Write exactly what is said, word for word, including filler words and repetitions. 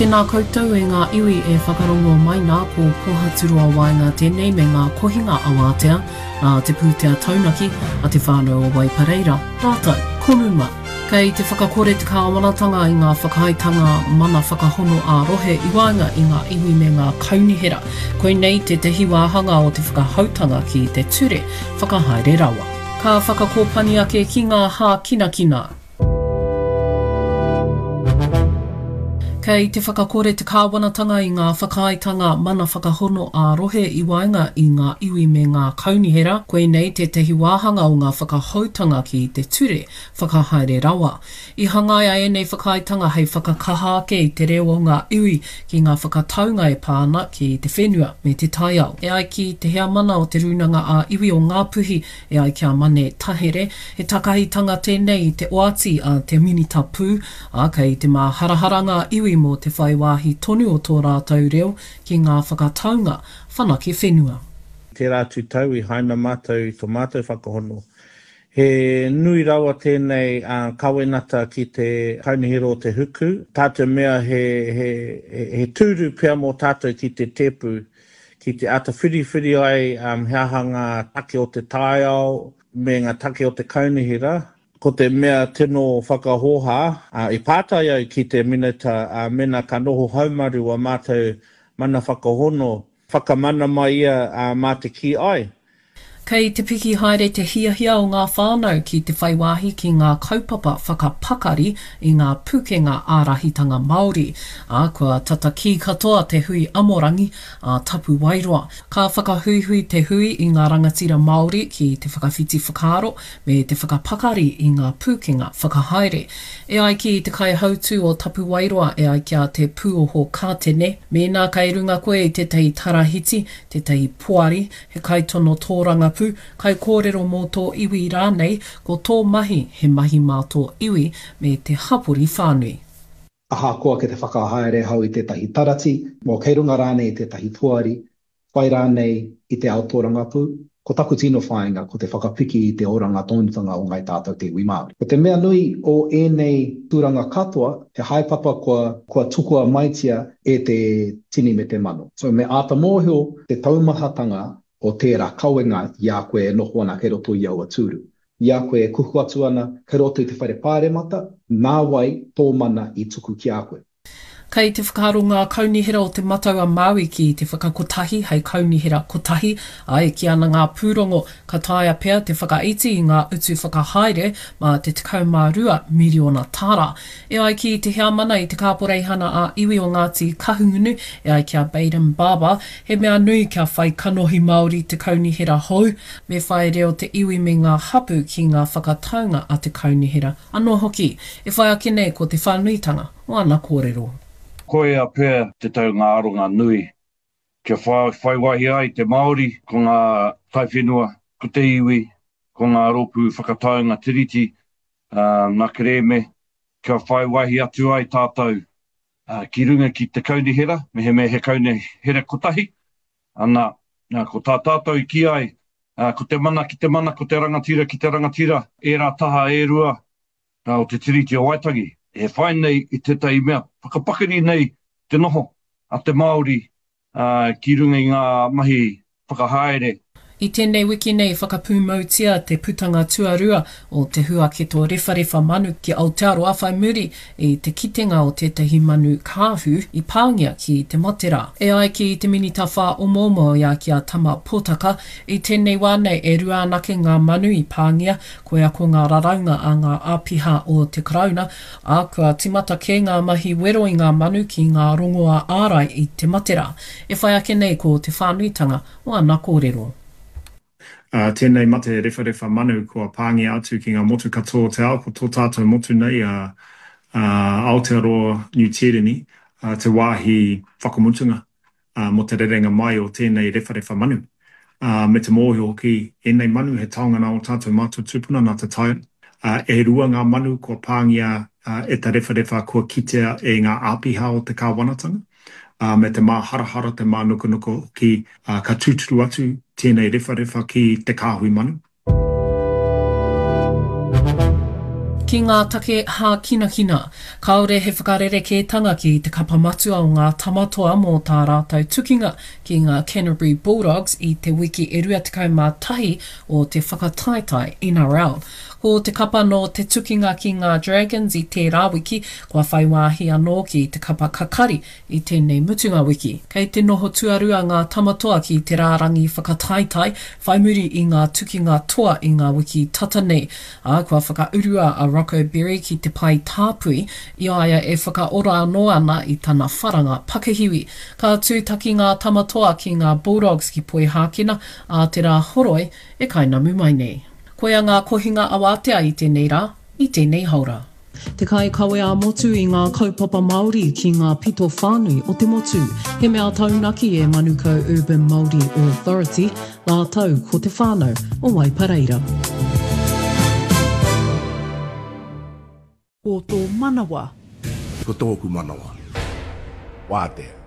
Tēnā koutou e ngā iwi e whakarongo mai nā ko Pohaturoa Waenga tēnei me ngā kohinga awātea nā te pūtea taunaki a te whānau o Waipareira, rātou, ko Muma. Kei te whakakore te kāwanatanga i ngā whakaaetanga mana whakahono ā-rohe i waenga i ngā iwi me ngā kaunihera. Koinei tētahi wāhanga o te whakahoutanga ki te ture whakahaere rawa. Ka whakakōpani ake ki ngā hākinakina. Kei te whakakore te kāwanatanga i ngā whakaaetanga mana whakahono ā-rohe i waenga i ngā iwi me ngā kaunihera, koinei tētahi wāhanga o ngā whakahoutanga ki te ture whakahaere rawa. I hangaia ēnei whakaaetanga hei whakakaha ake i te reo o ngā iwi ki ngā whakataunga e pā ana ki te whenua me te taiao. E ai ki te heamana o te Rūnanga ā-Iwi o Ngāpuhi, e ai ki a Mane Tahere, he takahitanga tēnei i te oati a te Minita Pū, ā, kei te māharahara ngā iwi mō te whai wāhi tonu o tō rātou reo ki ngā whakataunga whanake whenua. Tērā atu tau i haina mātou i tō mātou whakahono. He nui rawa tēnei kawenata ki te Kaunihera o te Huku, tā te mea he, he, he tūru pea mō tātou ki te tēpu, ki te āta whiriwhiri ai he aha ngā take o te taiao me ngā take o te kaunihera. Ko te mea tino whakahōhā, i pātai au ki te Minita mēnā ka noho haumaru a mātou mana whakahono, whakamana mai ia mā te kī ai. Kei te piki haere te hiahia o ngā whānau ki te whai wāhi ki ngā kaupapa whakapakari i ngā pūkenga ārahitanga Māori, ā, kua tata kī katoa te hui amorangi a Tapuwaeroa. Ka whakahuihui te hui i ngā rangatira Māori ki te whakawhiti whakaaro me te whakapakari i ngā pūkenga whakahaere. E ai ki te kaihautū o Tapuwaeroa e ai ki a Te Pūoho Kātene, mēnā kei runga koe i tētahi tarahiti, tētahi poari, he kaitono tōrangapū, kaikōrero mō tō iwi rānei, ko tō mahi he mahi mā tō iwi me te hapori whānui. Ahakoa ki te whakahaere hau i tētahi tarati, mō kei runga rānei i tētahi poari, whai rānei i te ao tōrangapū, ko taku tino whāinga ko te whakapiki i te oranga tonutanga o ngāi tātou te iwi Māori. Ko te mea nui o ēnei tūranga katoa, he haepapa kua, kua tukua maitia e te tini me te mano. So me āta mōhio te taumahatanga o tērā kawenga i a koe e noho ana kei roto i aua tūru. I a koe e kuhu atu ana kei roto i te whare pāremata, nā wai tō mana i tuku ki a koe. Kei te whakaaro ngā kaunihera o Te Matau a Māui ki te whakakotahi hei kaunihera kotahi, ā, e kī ana ngā pūrongo ka taea pea te whakaiti i ngā utu whakahaere mā te tekau mā rua miriona tāra. E ai ki te heamana i te Kāporeihana ā-Iwi o Ngāti Kahungunu, e ai ki a Bayden Barber, he mea nui kia whai kanohi Māori te kaunihera hou, me whai reo te iwi me ngā hapū ki ngā whakataunga a te kaunihera anō hoki. E whai ake nei ko te whānuitanga o ana kōrero. Koia pea te tau ngā aronga nui kia whai wāhi ai te Māori, ko ngā taiwhenua, ko te iwi, ko ngā rōpū whakataunga tiriti, ngā kerēme, kia whai wāhi atu ai tātou ki runga ki te kaunihera, mehemea he kaunihera kotahi, ana, ko tā tātou i kī ai, ko te mana ki te mana, ko te rangatira ki te rangatira, ērā taha e rua o te Tiriti o Waitangi, e whai nei i tētahi mea, whakapakari nei te noho a te Māori ki runga i ngā mahi whakahaere. I tēnei wiki nei whakapūmautia te putanga tuarua o te huaketo rewharewha manu ki Aotearoa whai muri i te kitenga o tētahi manu kāhu i pāngia ki te mate rā. E ai ki te Minita Whāomoomo i a ki a Tama Potaka, i tēnei wā nei e rua anake ngā manu i pāngia, koia ko ngā raraunga a ngā āpiha o te Karauna, ā, kua tīmata kē ngā mahi wero i ngā manu ki ngā rongoā ārai i te mate rā. E whai ake nei ko te whānuitanga o ana kōrero. Uh, tēnei mate rewharewha manu kua pāngia atu ki ngā motu katoa o te ao, ko tō tātou motu nei a uh, Aotearoa Niu Tīreni, uh, te wāhi whakamutunga uh, mō te rerenga mai o tēnei rewharewha manu. Uh, me te mōhio hoki ēnei manu he taonga nā o tātou mātua tūpuna nā te tai. Uh, e rua ngā manu kua pāngia uh, e te rewharewha kua kitea e ngā āpiha o te kāwanatanga. Uh, me te māharahara, te mānukanuka hoki, uh, ka tūturu atu tēnei rewharewha ki te kāhui manu. Ki ngā take hākinakina, kāore he whakarerekētanga ki te kapa matua o ngā Tama Toa mō tā rātou tukinga ki ngā Canterbury Bulldogs i te wiki e rua tekau mā tahi o te whakataetae N R L. Ko te kapa nō te tukinga ki ngā Dragons i tērā wiki, kua whai wāhi anō ki te kapa kakari i tēnei mutunga wiki. Kei te noho tuarua ngā Tama Toa ki te rārangi whakataetae whai muri i ngā tukinga toa i ngā wiki tata nei, ā, kua whakaurua a Rocco Berry ki te pae tāpui i a ia e whakaora anō ana i tana wharanga pakihiwi. Ka tūtaki ngā Tama Toa ki ngā Bulldogs ki Poihākena ā te Rā Horoi e kainamu mai nei. Koia ngā kohinga awatea i tēnei rā, i tēnei haora. Te kaikawe ā-motu i ngā kaupapa Māori ki ngā pito whānui o te motu. He mea taunaki e Manukau Urban Māori Authority rātou ko te whānau o Waipareira. Ko tō manawa. Ko tōku manawa. Wātea.